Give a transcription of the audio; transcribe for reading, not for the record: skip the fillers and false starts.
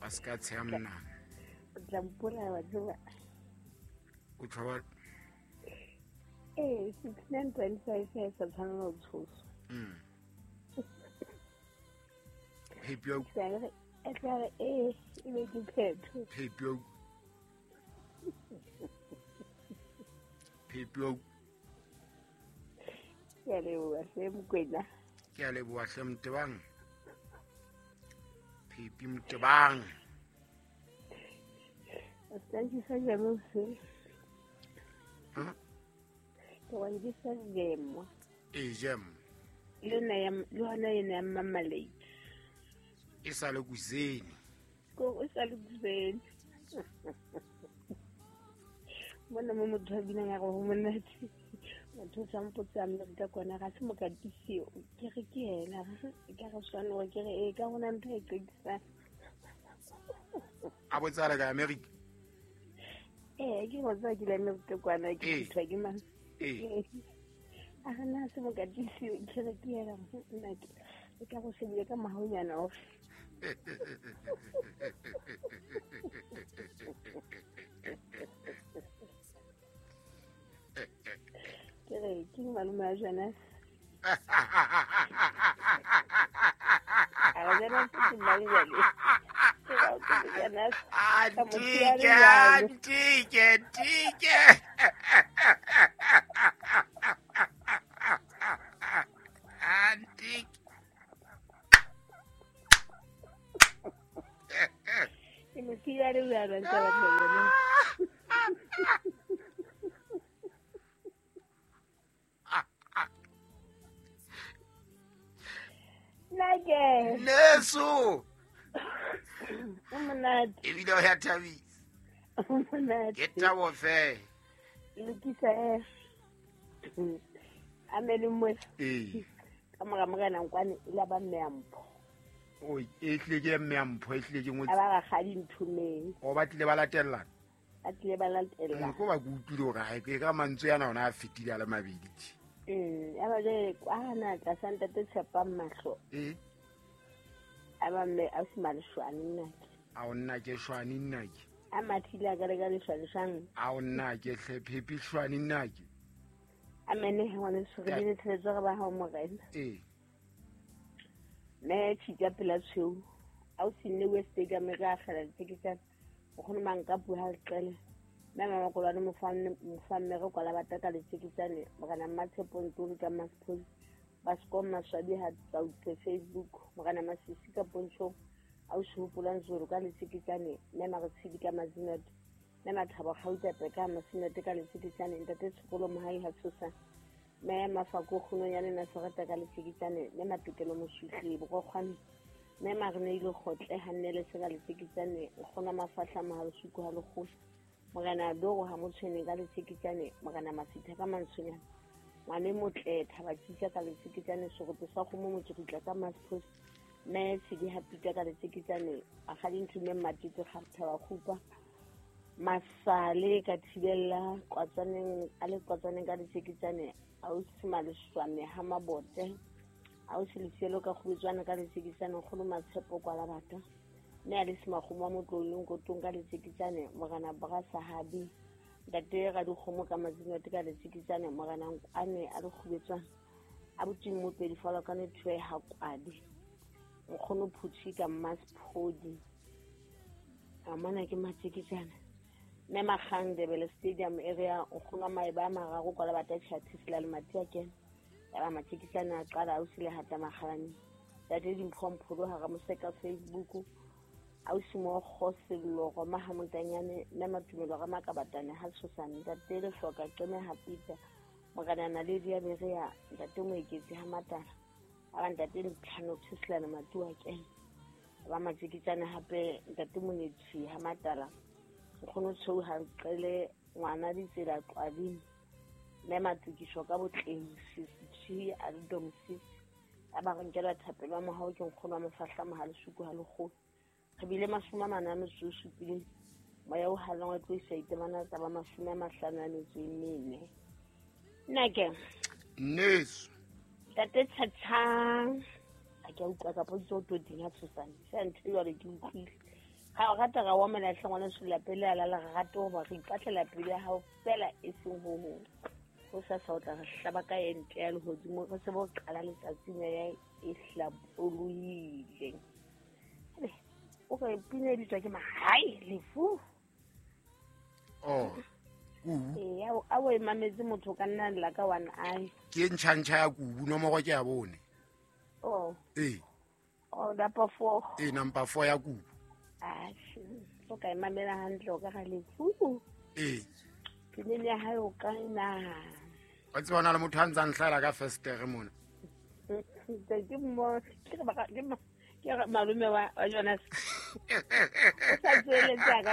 Ba se ka tsheha monana. O tla mpolaya wa tseba. O tshaba. Ee, 69.5 ha e sa tshwanela ho tshoswa. Phepi ya E tla re ee, e be ke phetho. Phepi ya Phepi ya Ke a leboha hle Mokwena. Ke a leboha hle Motebang. Phepi Motebang. O ska nkisa jeme hoseng. Huh? Ke wa nkisa jemo. Ee, jam. Le yona ya, le yona ena ya marmalade. E sa le kuseni. Ko o sa le kuseni. Mona mo motho a binang a re ho monate. Motho o sa mpotse a Amerika kwana ga se mokatisi o. Ke re ke yena, ga se ka re tshwane hore ke re ee ka hona ntho e qekisang. A botsa le ka Amerika? Ee, ke go tsaya ke le Amerika kwana ke Ee. thutwa ke mang? Ee. Ee. A re na se mokatisi o, ke re ke yena, nna ke e ka go shebile ka mahaunyana ofe. Ke re ke malome wa Jonas. A re Jonas ke mang jwale? Ke re ke Jonas. Ka mo siya le Antike, jwalo. antike, antike. Antike. Ke mo siya le jwalo, a ntse a batla Jonas. Nna ke. Neso. O monate. Ebile o ya thabisa. O monate. Ke thabo fela. Lokisa e. A me le mo. Ee. Ka mora morena Nkwane e la ba mme ya mpho. O e tlile ke mme ya mpho, e tlile ke ngotse. A ba rakgadi nthomeng. O ba tlile ba latellana. Ba tlile ba latellana. Ko ba ke utlwile hore ha e ka mantswe yana ona a fetile a le mabedi tje. Ya ba jwale kwana tlasa ntate Tshepang mahlo. Ee. A ba mme a se maleshwane nna ke. A o nna ke shwane nna ke. A mathile a ka le ka leshwane shwane. A o nna ke hle Phepi shwane nna ke. A mene he ngwane so re bile tshebetso re ba hao morena. Ee. Mme tshita pela tshweu. A o sinne West Stadium re a kgela diteketsana. O kgone mang ka puo ha le qele. Mme mama Kolwane mofamme re kwala ba taka letseketsane. Morena Mmatshepo Ntuli ka Masphodi. Baskom Maswabi ha tsautse Facebook. Morena Masisi ka Pontshong. A o se hopolang Zulu ka letseketsane. Mme Maretshidi ka Mazinate. Mme Mathabo Kgauta Peka Masinate ka letseketsane. Ntate Tshokolo Mohai ha tshosa. Mme Mafako Kgononyane Nasereta ka letseketsane. Mme Matokelo Moswihli Borokgwane. Mme Mareneile Kgotle ha nnele se ka letseketsane. Nkgono Mafahla Mohalisuku ha lekgolo. Morena Doro ha motshweneng ka letseketsane. Morena Masitha ka Mantshonyana. Ngwane motle Thaba Tjitja ka letseketsane. Seroto sa kgomo Motsokutla ka Masphos. Mme Tshedi ha Pita ka letseketsane. Akgadi Nthume Mmatete Thaba Kgupa. Masale ka thibella Kwatsaneng, a le Kwatsaneng ka letseketsane. Ausi Maleshwane ha Mabote. Ausi Lesielo ka Kgubetswana ka letseketsane. Nkgono Matshepo kwa Labata. Mme a le Semakgomo wa Motlolong Kotong ka letseketsane. Morena Bra Sahabi. Ntate Radikgomo ka Mazinate ka letseketsane. Morena Nkwane a le Kgubetswana. Abuti Mmopedi Falo ka Nethwe ha Kwadi. Nkgono Phuthi ka Masphodi. A mona ke matseketsane. Mme Makgang Ndebele Stadium area nkgono maeba a mararo kwa Labata Tjhathisi la Lemati a kena. Ya ba matseketsane a qala ausi le hata makgalane. Ntate Dimpho Mpholo hara Moseka Facebook. Ausi mo Kgosello Roma ha Montanyane, mme Matumelo ra Makabatane ha Tshosane. Ntate Lehloka Qeme ha Peter. Morena Naledi ya Berea, ntate Moeketsi ha Matala. A ba ntate Ntlhano Tshislana Matua kena. Ba matseketsane hape ntate Monetsi ha Matala. Nkgono Tshweu ha Nqele ngwana ditsela Qwabing. Mme Matukiso ka botleng Sisi a le Domsisi. A ba re nkela thapelo ya mohau ke nkgono wa Mofahla Mohalisuku ha lekgolo. Re bile 47. Moya o halang wa tlo isa itemana tsa ba 54. Nna ke. Nneso. Ntate Tjhatjhang. A ke a utlwa ka potso o tlo ding ha tshosane. Se ntho e jwale ke utlwile. Ga o rata ga wa melatlhe ngwana sula pele a lala ga rate goba re ipatlela pele ya gago fela e seng go gongwe. Go sasa o tla re hlaba ka ente ya legodimo re se bo qala letsatsi meya e hlapolohile. O re pina e bitswa ke magae lefu. Oh, kubu. Ee, a o e mametse motho o ka nna lla ka one eye. Ke ntšhantšha ya kubu, nomoro ke ya bone. Oh. Ee. Oh, number 4. Ee, number 4 ya kubu. O ka e mamela hantle o ka ga lefu. Ee. Pineng ya hae o ka e nahana. Wa tseba na le motho a ntsang hlaela ka festere mona. Ke mo ke re ke malome wa Jonas. O sa tsweletse a ka